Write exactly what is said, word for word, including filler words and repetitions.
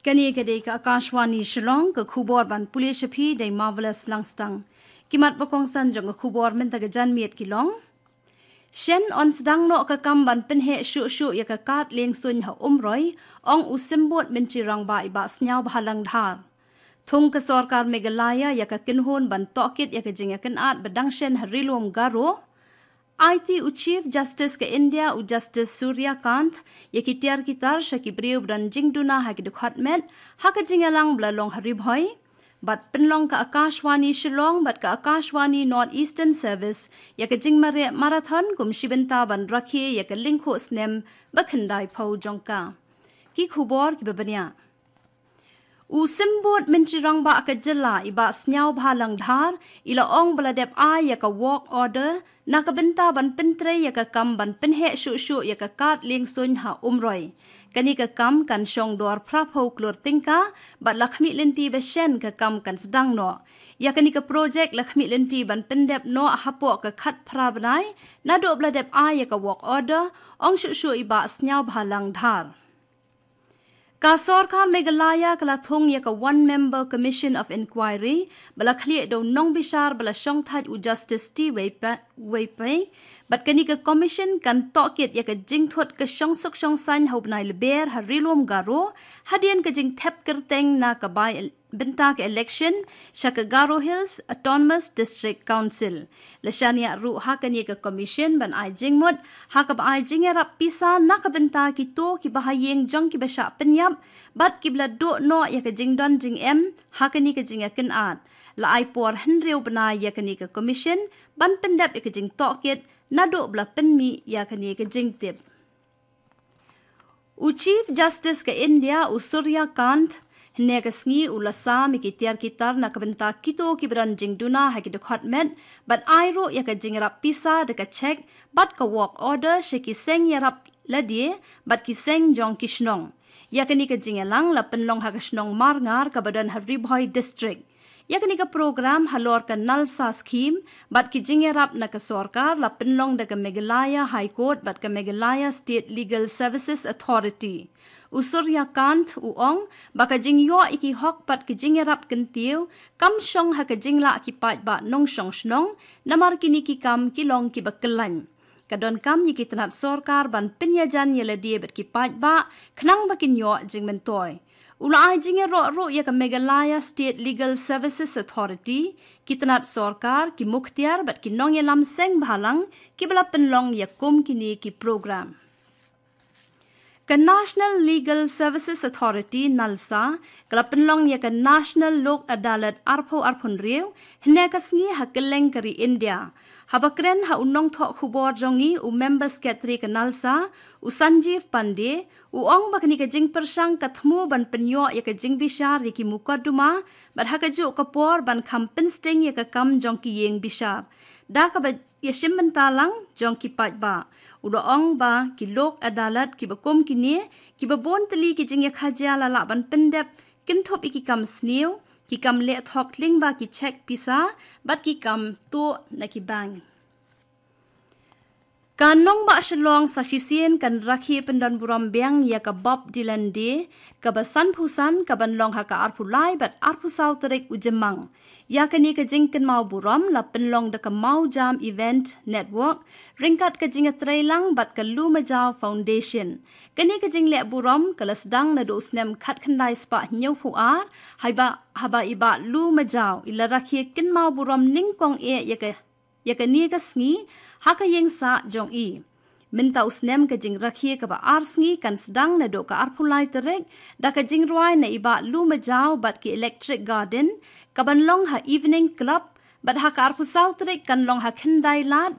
Kane ka dei ka Akashvani Shillong, ka khubor ban pule sha phi da i Marvelous Langstang. Ki mat ba kongsan jong ka khubor mynta ka janmiet ki long: Shen yn sdang noh ka kam ban pynheh shuh shuh ïa ka kad lieng suiñ ha Umroi, ong u Symbud Myntri Rangbah i Bah Sniawbhalang Dhar. Thung ka sorkar Meghalaya ïa ka kynhun ban tohkit ïa ka jingïakynad ba dang shen ha Ri Lum Garo. Aiti u Chief Justice ka India u Justice Surya Kant ïa ki tiar ki tar sha ki briew ba don jingduna ha ki dkhot met ha ka jingïalang ba la long ha Ri Bhoi. Bad pynlong ka Akashvani Shillong bad ka Akashvani North Eastern Service ïa ka jingmareh marathon kum shi bynta ban rakhe ïa ka lyngkhuh snem ba khyndai phew jong ka. Ki khubor kiba bniah. U Symbud Myntri Rangbah ka jylla i Bah Sniawbhalang Dhar i la ong ba la dep ai ïa ka work order na ka bynta ban pyntrei ïa ka kam ban pynheh shuh shuh ïa ka kad lieng suiñ ha Umroi. Kane ka kam kan shong dor phra phew klur tyngka bad la khmih lynti ba shen ka kam kan sdang noh. Ïa kane ka projek la khmih lynti ban pyndep noh hapoh ka khatphra bnai naduh ba la dep ai ïa ka work order, ong shuh shuh i Bah Sniawbhalang Dhar. Ka sorkar Meghalaya ka la thung ïa ka One Member Commission of Inquiry ba la khlieh da u nongbishar ba la shongthait u Justice T Wei Pei. Bad kane ka commission kan tohkit ïa ka jingthut ka shongsuk shongsaiñ ha u bnai Lber ha Ri Lum Garo hadien ka jingthep kyrteng na ka bai bynta ka election sha ka Garo Hills Autonomous District Council. La shaniah ruh ha kane ka commission ban ai jingmut ha kaba ai jingïarap pisa na ka bynta kito kiba ha ïing jong kiba shah pynïap bad kiba la duh noh ïa ka jingdon jingem ha kane ka jingïakynad. La ai por hynriew bnai ïa kane ka commission ban pyndep ïa ka jingtohkit naduh ba la pynmih ïa kane ka jingtip. U Chief Justice ka India u Surya Kant hynne ka sngi u la sam ïa ki tiar ki tar na ka bynta kito kiba don jingduna ha ki dkhot met bad ai ruh ïa ka jingïarap pisa da ka cheque bad ka work order sha ki seng ïarap lade bad ki seng jong ki shnong. Ïa kane ka jingïalang la pynlong ha ka shnong Marngar kaba don ha Ri Bhoi District. Ïa kane ka program halor ka NALSA scheme bad ki jingïarap na ka sorkar la pynlong da ka Meghalaya High Court bad ka Meghalaya State Legal Services Authority. U Surya Kant u ong ba ka jingïoh ïa ki hok bad ki jingïarap kyntiew kam shong ha ka jinglah ki paidbah nongshong shnong, namar kine ki kam ki long kiba kyllaiñ. Ka donkam ïa ki tnat sorkar ban pynïajan ïa lade bad ki paidbah khnang ba kin ïoh jingmyntoi. U la ai jingïaroh ruh ïa ka Meghalaya State Legal Services Authority, ki tnat sorkar, ki mukhtiar bad ki nongïalam seng bhalang kiba la pynlong ïa kum kine ki program. Ka National Legal Services Authority, NALSA, ka la pynlong ïa ka National Lok Adalat arphew arphew hynriew hynne ka sngi ha kylleng ka ri India. Haba kren ha u nongthoh khubor jong ngi u Member Secretary ka NALSA, u Sanjeev Pandey, u ong ba kane ka jingpyrshang ka thmu ban pynïoh ïa ka jingbishar ïa ki mukotduma bad ha kajuh ka por ban kham pynsting ïa ka kam jong ki ïing bishar da kaba ïashim bynta lang jong ki paidbah. U la ong ba ki lok adalat kiba kum kine, kiba bun tylli ki jingïakajia la lah ban pyndep kynthup ïa ki kam sniew, ki kam leh thok lyngba ki cheque pisa bad ki kam tuh na ki bank. Ka nongbah Shillong sa shisien kan rakhe pyndonburom biang ïa ka Bob Dylan Day kaba sanphew san kaban long ha ka arphew lai bad arphew saw tarik u Jymmang. Ïa kane ka jingkynmaw burom la pynlong da ka Mawjam Event Network ryngkat ka jingïatreilang bad ka Lumajaw Foundation. Kane ka jingleh burom ka la sdang naduh u snem khatkhyndai spah hynñiewphew ar, haba, haba i Bah Lumajaw i la rakhe kynmaw burom nyngkong eh ïa ka, ïa kane ka sngi ha ka ïing sah jong i. Mynta u snem ka jingrakhe kaba ar sngi kan sdang naduh ka arphew lai tarik da ka jingrwai na i Bah Lumajaw bad ki Electric Garden kaban long ha Evening Club, bad ha ka arphew saw tarik kan long ha Khyndailad